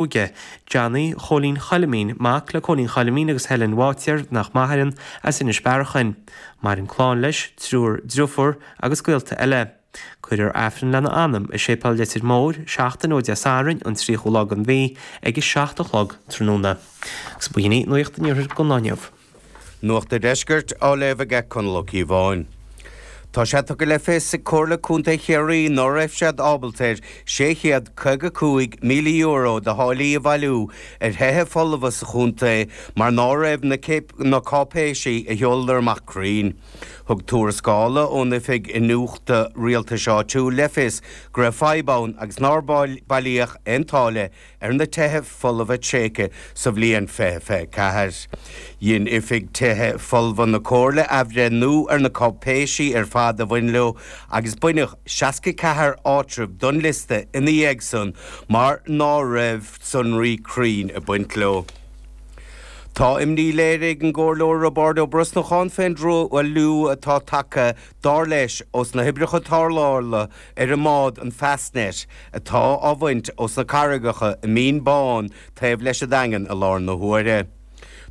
Óige, Johnny Chóilín Choilimín, mac le Cóilín Choilimín agus Helen Bháitéar, nach maireann, as Inis Bearachain. Maireann clann leis, triúr driofúr agus gaolta eile. Cuirfear Aifreann lena anam i Séipéal Leitir Móir, seachtain ó Dé Sathairn, an 30ú lá den mhí, ag a 7 a chlog tráthnóna. Agus b'shin í Nuacht an Iarthair don lá inniu. Nuacht an Deiscirt á léamh aige Conall Ó Cíobháin. Tá sé tugtha le fios ag Comhairle Contae Chiarraí ná raibh siad ábalta ar €655,000 de tháillí a bhailiú ar thithe folmha sa chontae mar ná raibh na cáipéisí a sheoladar amach cruinn. Thug tuarascála ón Oifig Iniúchta Rialtais Áitiúil le fios go raibh fadhb ann agus nár bailíodh aon táille ar na tithe folmha tréigthe sa bhliain 2024. Dhein Oifig Tithe Folmha na Comhairle athbhreithniú ar na cáipéisí ar fad a bhain leo agus baineadh 64 áitreabh don liosta ina dhiaidh san mar ná raibh sonraí cruinn ag baint leo. Tá imní léirithe ag an gComhairleoir Roibeárd Ó Brosnacháin fén dtruailliú atá tagtha, dar leis, ós na hoibreacha tarrthála ar an mbád an Fastnet atá á bhaint ós na carraigeacha i Mín Bán taobh leis an Daingean i láthair na huaire.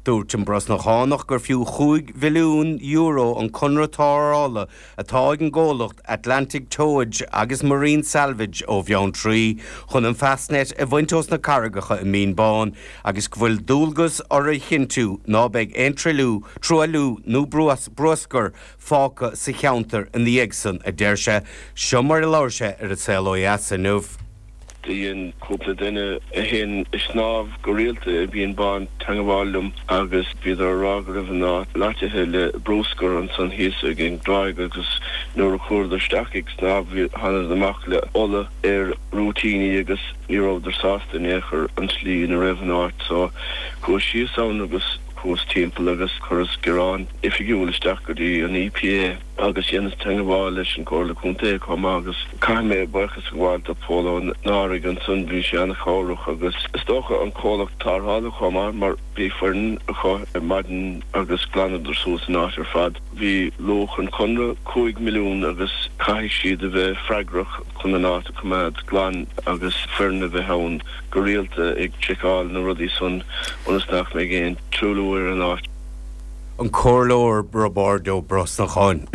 Dúirt an Brosnachánach gur fiú €5 mhilliún an conradh tarrthála atá ag an gcomhlacht Atlantic Towage agus Marine Salvage ó Bheanntraí chun an Fastnet a bhaint ós na carraigeacha i Mín Bán agus go bhfuil dualgas orthu a chinntiú ná beidh aon truailliú, truailliú nó bruascar fágtha sa cheantar ina dhiaidh san, a deir sé. Seo mar a labhair sé ar An Saol Ó Dheas inniu. Do dhein cúpla duine a théann ag snámh go rialta i Mín Bán teangabháil liom agus bhíodar a rá go raibh an áit loitithe le brúscar ansan thíos ag an dtráigh agus nuair a chuadar isteach ag snámh bhí thánadar amach le ola ar rúitíní agus ní rabhadar sásta in aon chor an tslí ina raibh an áit so chuas síos ann agus Chuas timpeall agus chuireas gearán oifigiúil isteach go dtí an EPA agus dheineas teangabháil leis an Comhairle Contae chomh maith agus caithfidh mé buíochas a ghabháil do Pól Ó Náraigh ansan, bhí sé an-chabhrach agus is dócha an comhlacht tarrthála chomh maith mar bhí foireann acu ar maidin agus ghlanadar suas an áit ar fad. Bhí luach an chonradh 5 milliún agus caithfidh siad a bheith freagrach chun an áit a choimeád glan agus foireann a bheith ann. go rialta ag seiceáil na rudaí san ionas nach mbeidh aon truailliú ar an áit. An Comhairleoir Roibeárd Ó Brosnacháin.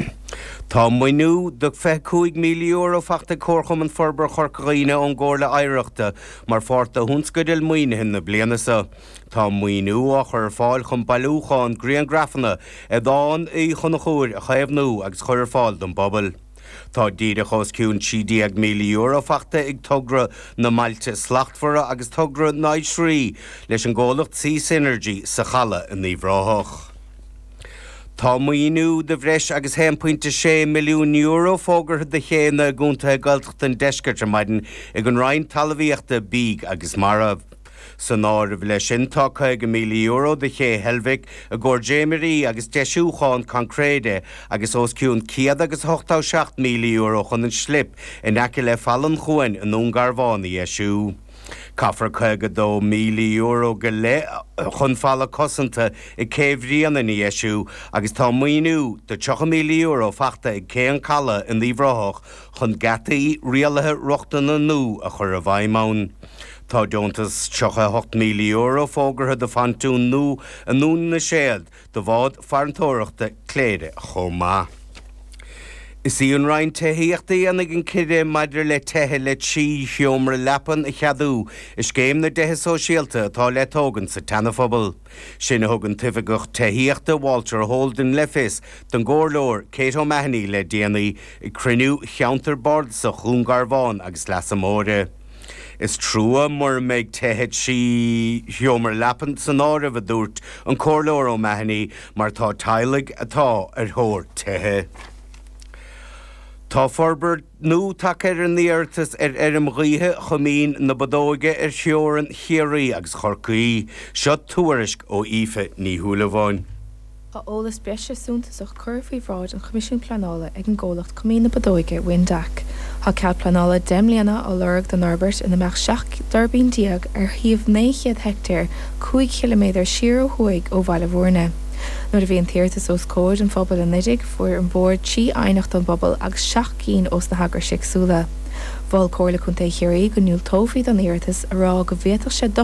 Tá maoiniú de €25,000 fachta ag Comharchumann Forbartha Chorca Dhuibhne ón gComhairle Oidhreachta mar pháirt de thionscadail maoinithe na bliana seo. Tá an maoiniú á chur ar fáil chun bailiúchán griangrafanna ar Dhán Uí Chonchúir a chaomhnú agus a chur ar fáil don bpobal. Tá díreach os cionn €13,000 fachta ag togra na mBailte Slachtmhara agus togra na nOisrí leis an gcomhlacht Seasynergy sa Chaladh in Uíbh Ráthach. Tá maoiniú de bhreis agus €1.6 milliún fógartha do chéanna i gcontaetha Gaeltachta an deiscirt ar maidin ag an Roinn Talmhaíochta, Bídh agus Mara. San áireamh leis sin tá €50,000 do Ché Heilbhic i gcomhair dréimirí agus deisiúchán coincréide agus os cionn €187,000 chun an slip in aice le Falla an Chuain i nDún Garbhán a dheisiú. Caithfear €52,000 go leith chun falla cosanta ag Cé Bhrianain a dheisiú agus tá maoiniú de €30,000 fachta ag Cé an Chalaidh in Uíbh Ráthach chun geataí rialaithe rochtana nua a chur i bhfeidhm ann. Tá deontas €38,000 fógartha do phontún nua i nDún na Séad do bhád farantóireachta Cléire chomh maith. Is í an Roinn Tithíochta a dhéanfaidh an cinneadh maidir le tithe le 3 sheomra leapan a cheadú i scéim na dtithe sóisialta atá le tógaint sa tSeanaphobal. Sin a thug an tOifigeach Tithíochta Walter Holden le fios don gComhairleoir Kate O'Mahony le déanaí ag cruinniú Cheantar Bardasach Dhún Garbhán agus Leasa Móire. Is trua mura mbeidh tithe 3 sheomra leapan san áireamh, a dúirt an Comhairleoir O'Mahony, mar tá teaghlaigh atá ar thóir tithe. Tá forbairt nua tagtha ar an iarratas ar fheirm ghaoithe Choimín na Bodóige ar theorainn Chiarraí agus Chorcaí. Seo tuairisc ó Aoife Ní Shúilleabháin. Tá eolas breise suntasach curtha faoi bhráid an Choimisiúin Pleanála ag an gcomhlacht Coimín na Bodóige, Windac. Tá cead pleanála 10 mbliana á lorg don fhorbairt ina mbeadh 17 dtuirbín ar shuíomh 900 heictéar, 5 chiliméadar siar ó thuaidh ó Bhaile Bhúirne. Nuair a bhí an t-iarratas os comhair an phobail anuraidh, fuair an Bord 3 aighneacht ón bpobal agus 7 gcinn ós na heagrais éagsúla. Mhol Comhairle Contae Chiarraí go ndiúltófaí don iarratas, a rá go bhféadfadh sé dochar.